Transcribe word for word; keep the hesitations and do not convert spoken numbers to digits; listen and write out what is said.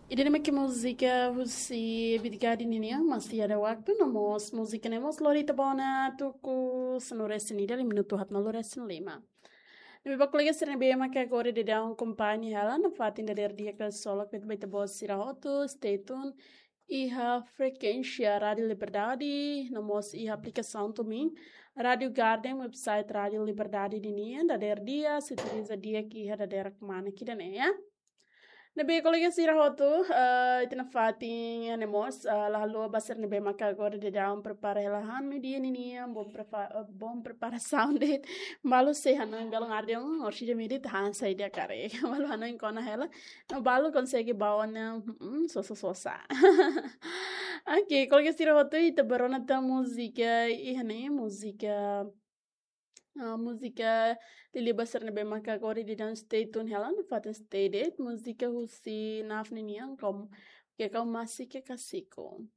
Ida-ne'e mak múzika husi Bitgadi nian, Masih Ada Waktu, no mós múzika ne'e mós lori ita ba ona tuku sanulu-resin-ida, minutu haatnulu-resin-lima. Ne'ebé ba kolega sira ne'ebé maka agora daudaun akompaña hela nafatin dadeer di'ak, ksolok ba ita-boot sira hotu, stay tune iha frekuénsia Rádiu Liberdade, no mós iha aplikasaun TuneIn, Rádiu Garden, website Rádiu Liberdade nian, dadeer di'ak, sintoniza di'ak iha dadeer kmana ida-ne'e, ya. Ne'ebé kolega sira hotu, eh, ita nafatin, ya, ne'e mós, eh, la haluha ba sira ne'ebé maka agora daudaun prepara hela ha'u-nia dia nian, bom prepa-, eh, bom preparasaun de'it. Balu sei hanoin galon ardiang, orsida midi tahan saida karik. Balu hanoin kona hela, no balu konsege ba ona, mm, sosa-sosa. Oke, kolega sira hotu, ita bá rona tan múzika iha ne'e, múzika, ah, múzika liuliu ba sira ne'ebé maka agora daudaun stay tune hela, nafatin stay de'it, múzika husi Naf nian, Kau, Ke Kau Masih Kekasihku.